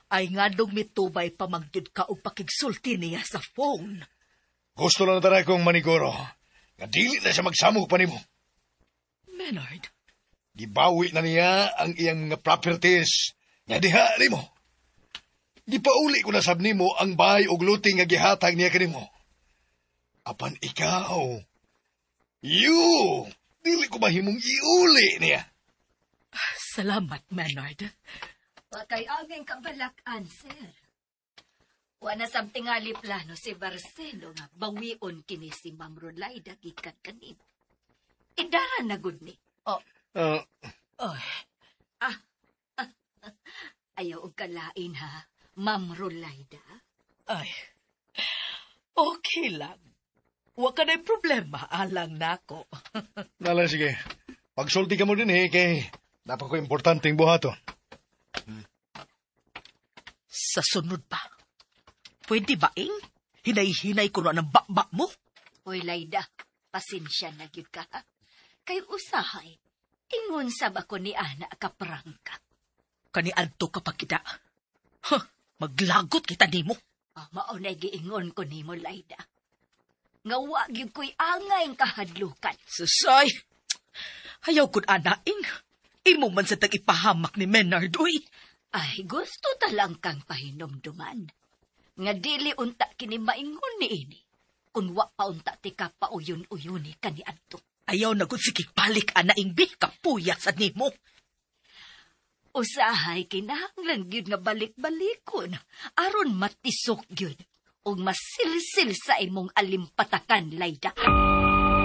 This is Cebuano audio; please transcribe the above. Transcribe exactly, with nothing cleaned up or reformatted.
Ay nganong mitubay pa man gyud ka og pakigsulti niya sa phone. Gusto lang na kong maniguro. Nga dili na siya magsamok pa nimo. Menard, Gibawi na niya ang iyang mga properties nga diha nimo. Gipauli ko na sab nimo ang bahay ug luti nga gihatag niya kanimo. Apan ikaw, you, dili ko mahimong iuli niya. Salamat, Menard. Wa kay angay kabalakan, sir. Wa na sab tingali plano si Marcelo nga bawion kini si Ma'am Rolaida gikan kanimo. Idara na gud ni. Oh, Uh, ay, Ayaw og kalain ha, Ma'am Rolaida. Ay. Okay lang. Wa ka na'y problema, alang nako. Nala, sige. Pagsulti ka mo din eh, kay naa pa koy importanteng buhaton. Sa sunod pa, pwede ba, ing? Hinay-hinay ko na ng bakba mo? Hoy, Laida, pasensya na gyud ka, ha? Kay usahay, ingon sab ako ni ana kaprangka. Kaniadto ka pa kita. Huh, maglagot kita nimo. Ah, mao na giingon ko nimo, Laida. Nga wa gyud ko'y angay kahadlukan. Susay! Ayaw kun anaing. Imo man sa tag-ipahamak ni Menard, uy. Ay, gusto talang kang pahinumduman. Nga dili unta kini maingon ni ini. Kung wa pa unta ti ka pauyon-uyoni kaniadto. Ayaw na gud sige balik anaing bi, kapuya sa nimo. Usahay kinahanglan gyud nga balik-balikon aron matisok gyud ug masilsil sa imong alimpatakan, Laida.